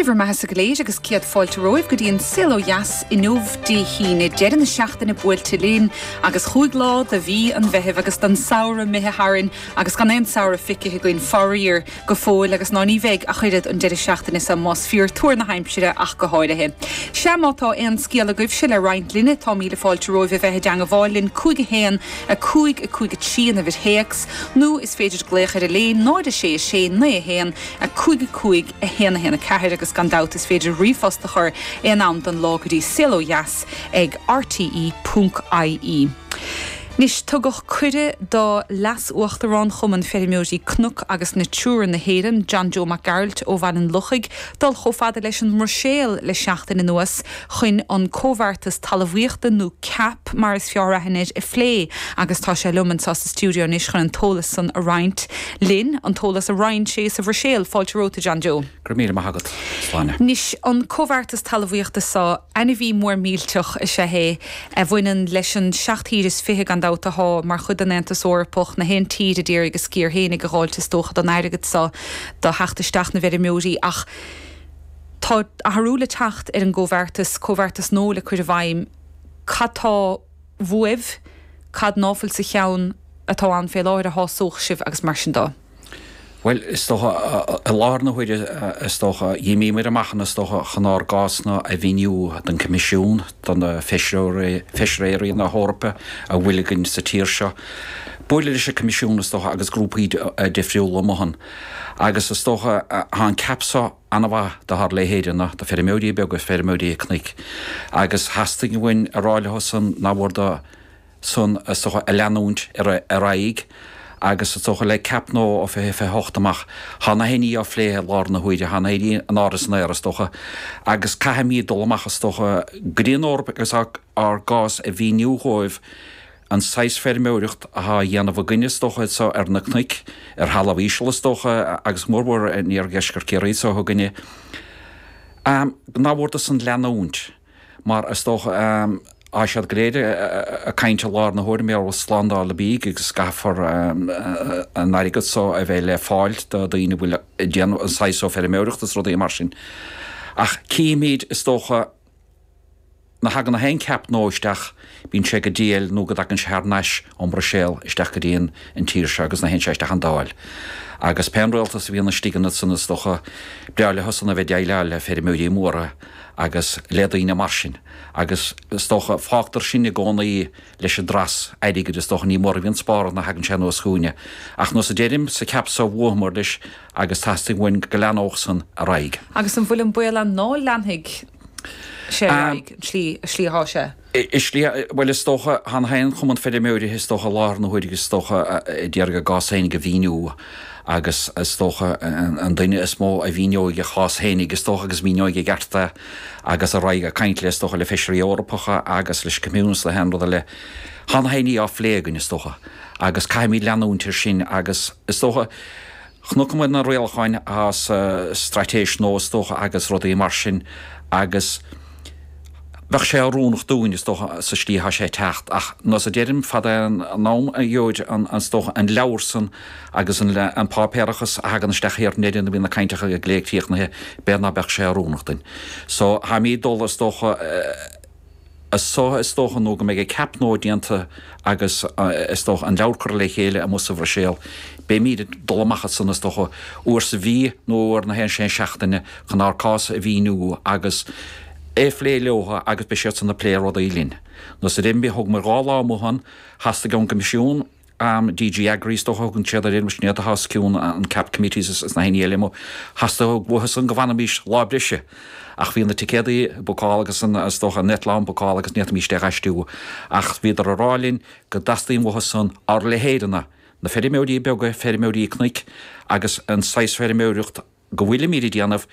Dé bhur mbeathasa go léir agus céad fáilte romhaibh go dtí an Saol Ó Dheas inniu Dé hAoine, deireadh na seachtaine buailte linn agus chúig lá de mhí an Mheithimh agus den samhradh imithe tharainn agus gan aon samhradh feicthe againn faraor go fóill agus ná ní bheidh ach oiread an deireadh seachtaine seo más fíor tuar na haimsire ach go háirithe. Sea má tá aon scéal agaibhse le roinnt linne tá míle fáilte romhaibh a bheith i dteangabháil linn 5 1 5 5 3 an uimhir théacs nó is féidir glaoch ar an léin 0 6 6 9 1 5 5 1 1 4 agus gan dabht is féidir ríomhphost a chur aon am den lá go dtí saolodheas ag rte ponc ie. Anois, tugadh cuireadh do Leas-Uachtarán Chumann Feirmeoirí Cnoc agus Natura na hÉireann, John Joe Mac Gearailt ó Bhaile an Lochaigh, dul chomh fada leis an mBruiséil le seachtain anuas chun an Comhbheartas Talmhaíochta, nó cap mar is fearr aithne air, a phlé agus tá sé liom anseo sa stiúideo anois chun an t-eolas san a roinnt linn, an t-eolas a roinn sé sa Bhruiséil. Fáilte romhat, a John Joe. Go raibh míle maith agat, Sláine. Anois, an Comhbheartas Talmhaíochta seo, ainmhí mór millteach is ea é, a bhaineann leis an seacht thír is fiche, gan dabht, athá mar chuid den Aontas Eorpach, na haon tír a d'iarraidh a sciar fhéinig a dh'fháilt is dócha den airgead seo do theacht isteach na bhfeirmeoirí ach tá athrú le teacht ar an gcomhbheartas, comhbheartas nua le cur i bhfeidhm. Cad tá uaibh? Cad ná fuil sa cheann atá ann fé láthair a shásódh sibh agus mar sin de? Bhuel, is dócha, i láthair na huaire, is dócha, dh'imíomar amach ann, is dócha, chun ár gcásanna a mhíniú don Coimisiún, do na feisireoirí, feisirí na hEorpa a bhfuil againn sa tír seo. Buaileadh leis an Coimisiún, is dócha, agus grúpaí difriúla amuigh ann. Agus is dócha, tá an cap seo an-mhaith do ár leithéideanna, do feirmeoirí beaga, feirmeoirí cnoic. Agus theastaigh uainn a rá leo san nár mhór do, san, is dócha, a leanúint ar aghaidh agus, is dócha, le cap nua ó 2028 amach. Tá na haon ní á phlé i láthair na huaire, tá na haon ní in airde san aer, is dócha, agus caithfimid dul amach, is dócha, go dtí an Eoraip agus ár gcás a mhíniú dhóibh, an saghas feirmeoireacht atá á dhéanamh againne, is dócha, so ar na cnoic, ar thalamh íseal, is dócha, agus mórmhór in iardheisceart Chiarraí so againne, nár mhór dó san leanúint. Mar is dócha, tá siad go léir ag caint i láthair na huaire mar gheall ar slándáil bídh agus caithfear an airgead so a bheith le fáil do daoine a bhfuil ag déanamh an saghas so feirmeoireachta is rudaí mar sin. Ach cífimid, is dócha, nuair a thagann na haon cap nua isteach, bíonn sé go diail nó go dtagann sé thar n-ais ón mBruiséil isteach go dtí an tír seo agus nuair a théann sé isteach an Dáil. Agus pé an rialtas a bhíonn istigh ansan is dócha, breá leo san a bheith ag déileáil le feirmeoirí móra agus le daoine mar sin agus is dócha, fágtar sinn i gcónaí leis an dreas airgid, is dócha, ní mór a bhíonn spártha nuair a thagann sé anuas chugainne. Ach nós a deirim, sa cap so bhuamar leis agus teastaíonn uainn go leanódh san ar aghaidh. Agus an bhfuil an baol ann ná leanfaidh sé ar aghaidh, an tslí, an slí athá sé? I slí, bhuel, is dócha, tá na haon chumann feirmeoirí, is dócha, i láthair na huaire, is dócha, a d'iarraidh a gcás fhéinig a mhíniú agus is dócha an duine is mó a mhíneoidh a chás fhéinig, is dócha, agus míneoidh i gceart é agus a raghaidh ag caint le, is dócha, le feisirí Eorpacha agus leis an Coimisiún is le haon rud eile. Tá na haon ní á phlé againn, is dócha, agus caithfimid leanúint air sin agus, is dócha, Chonaiceamar na rialacháin atá sa straitéis nua is dócha agus rudaí mar sin agus bheadh sé oiriúnach dúinn is dócha sa slí atá sé ag teacht ach nós a deirim fad é an am a gheobhaid an is dócha an leabhar san agus an an páipéarachas a thagann isteach thiar in Éirinn a bhíonn na cainteacha go léir críochnaithe b'fhéidir ná beadh sé oiriúnach duinn. So táimid ag dul is dócha As so is dócha nó go mbeidh an cap nua déanta agus is dócha an leabhar curtha le chéile amuigh sa Bhruiséil, beimíd ag dul amach ansan is dócha uair sa mhí nó uair na haon sé seachtaine chun ár gcás a mhíniú agus é a phlé leotha agus beidh siadsan ag plé rudaí linn. Nós a deirim, thógamar 2 lá amuigh ann, theastaigh ón gCoimisiún, DG Agri is dócha a thugann siad air, sin iad atá os cionn an Cap Committees is na haon ní eile amuigh. Theastaigh uathu san go bhfanfaimís lá breise ach bhí na ticéadaí bookáilte agus an, is dócha, an eitleán bookáilte agus ní fhéadfaimís é a dh'aistriú. Ach bhíodar a rá linn go dteastaíonn uathu san ár leithéideanna, na feirmeoirí beaga, feirmeoirí cnoic agus an saghas feirmeoireacht go bhfuilimíd ag déanamh.